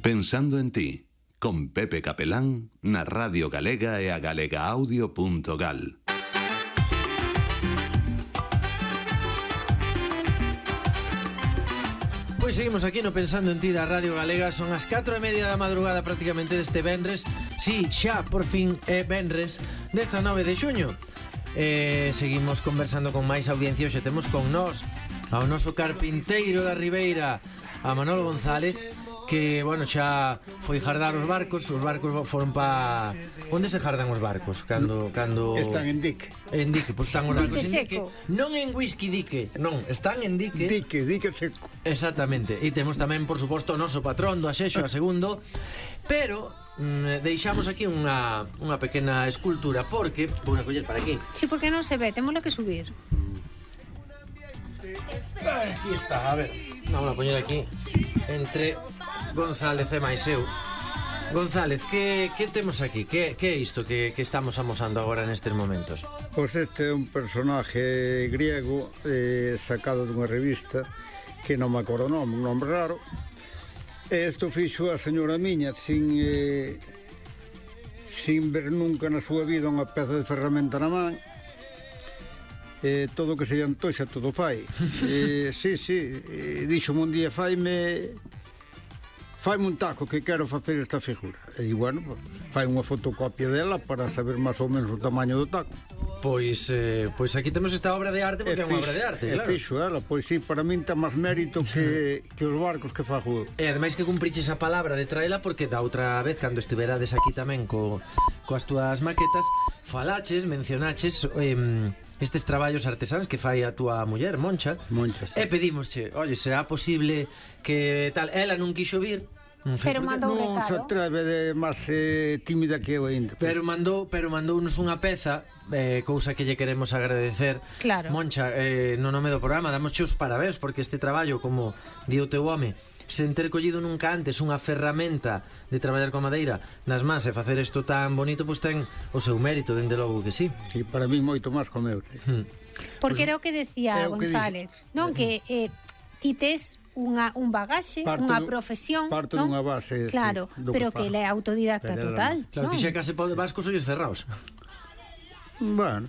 Pensando en ti, con Pepe Capelán, na Radio Galega e a galegaaudio.gal. Pois seguimos aquí no Pensando en ti da Radio Galega. Son as 4:30 da madrugada prácticamente deste venres. Si, xa, por fin é venres 19 de xuño. Seguimos conversando con máis audiencia. Hoxe temos con nós ao noso carpinteiro da Ribeira, a Manolo González, que, bueno, xa foi jardar os barcos foron pa... Onde se jardan os barcos? Cando... Están en dique. En dique, pois están os barcos en dique. Seco. Non en whisky dique, non, están en dique. Dique seco. Exactamente. E temos tamén, por suposto, o noso patrón do Axexo, a segundo. Pero deixamos aquí unha pequena escultura, porque vou a coller para aquí. Sí, porque non se ve, témoslo que subir. Aquí está, a ver, vamos a poñer aquí entre González e máis eu. González, que temos aquí? Que é isto que estamos amosando agora nestes momentos? Pois este é un personaje griego sacado dunha revista que non me acordo o nome, un nome raro. E isto fixo a señora miña sin ver nunca na súa vida unha peza de ferramenta na man. Todo o que se lle antoxa todo fai. Dixo-me un día faime un taco que quero facer esta figura. E di, bueno, fai unha fotocopia dela para saber máis ou menos o tamaño do taco. Pois aquí temos esta obra de arte, porque é unha obra de arte, claro. E fixo ela, pois sí, para min ten máis mérito que os barcos que fago. E ademais que cumpriches a palabra de traela, porque da outra vez, cando estiverades aquí tamén coas túas maquetas, falaches, mencionaches estes traballos artesáns que fai a túa muller, Moncha. E pedimosche, oye, será posible que tal, ela non quixo vir, pero mandou un recado. Non se atreve de máis tímida que eu ainda. Pero mandounos unha peza, cousa que lle queremos agradecer. Claro. Moncha, no nome do programa damosche os parabéns, porque este traballo, como di o teu home, sen ter collido nunca antes unha ferramenta de traballar con madeira nas mans e facer isto tan bonito, pois ten o seu mérito, dende logo que sí. Sí, para mí moito máis co meu. Porque era o que decía González, non? Que ti tes un bagaxe, unha profesión, parto non? Dunha base, claro, sí, pero que ele é autodidacta total. Claro, ti xa case pode vas cos ollos cerrados. Bueno,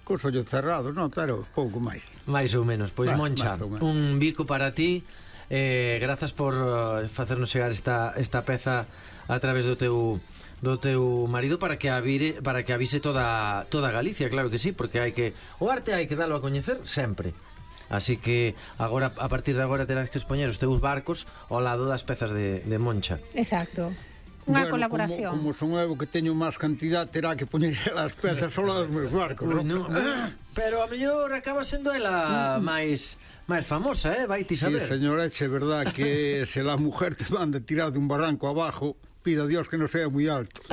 cos ollos cerrados, non, pero pouco máis. Mais ou menos, pois Moncha, un bico para ti. Grazas por facernos chegar esta peza a través do teu marido para que avise toda Galicia, claro que sí, porque o arte hai que dalo a coñecer sempre. Así que agora, a partir de agora, terás que expoñer os teus barcos ao lado das pezas de Moncha. Exacto. Unha colaboración. Como son eu que teño máis cantidad, terá que poñer as pezas ao lado dos meus barcos, non? Pero a mellor acaba sendo ela máis famosa, vai ti saber. Sí, señora, é verdad que se la mujer te manda tirar de un barranco abajo, pida a Dios que non sea moi alto.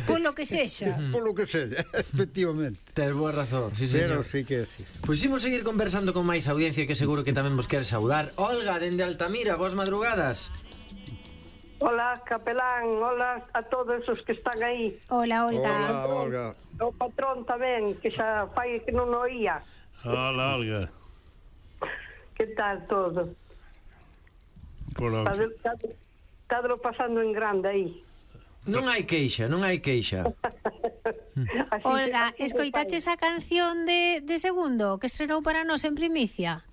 Por lo que sexa. Por lo que sexa, efectivamente. Tes boa razón, sí, señor. Pero sí que sí. Pois imos seguir conversando con máis audiencia, que seguro que tamén vos quere saudar. Olga, dende Altamira, boas madrugadas. Hola, Capelán, hola a todos os que están aí. Hola, Olga. Hola, Olga. O patrón tamén, que xa fai que non oía. Hola, Olga. Que tal todo? Estádelo pasando en grande aí. Non hai queixa. Olga, escoitaches a canción de Segundo que estrenou para nós en primicia?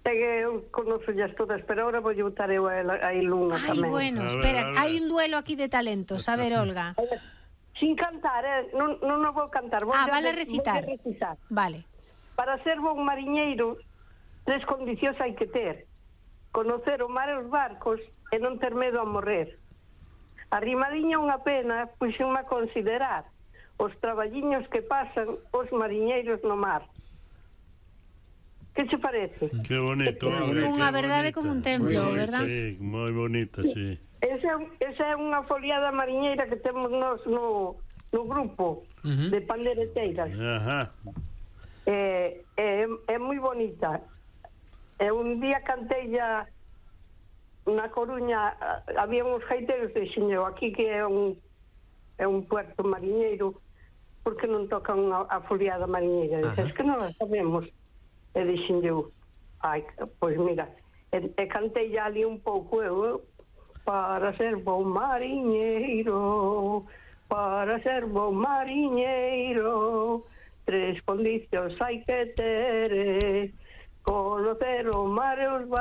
Eu conozo as todas, pero ahora vou botar eu a Ilunga tamén. Ai, bueno, espera, hai un duelo aquí de talentos. A ver, Olga. Sin cantar, non o vou cantar. Vale recitar. Vale. Para ser bon mariñeiro, 3 condicións hai que ter: conocer o mar e os barcos e non ter medo a morrer. Arrimadiña unha pena, puxenme a considerar os traballiños que pasan os mariñeiros no mar. Que che parece? Que bonito. Unha verdade como un templo, verdad? Sí, moi bonita, sí. Esa é unha foliada mariñeira que temos nós no grupo de pandereteiras. Ajá. É moi bonita. Un día cantei na Coruña, había uns gaiteiros de xineo aquí que é un puerto mariñeiro, porque non tocan a foliada mariñeira. Dices que non a sabemos. E dixen eu, pois mira, e cantei ali un pouco eu, para ser bom mariñeiro, para ser bom mariñeiro, 3 condicións hai que ter, conocer o mar e os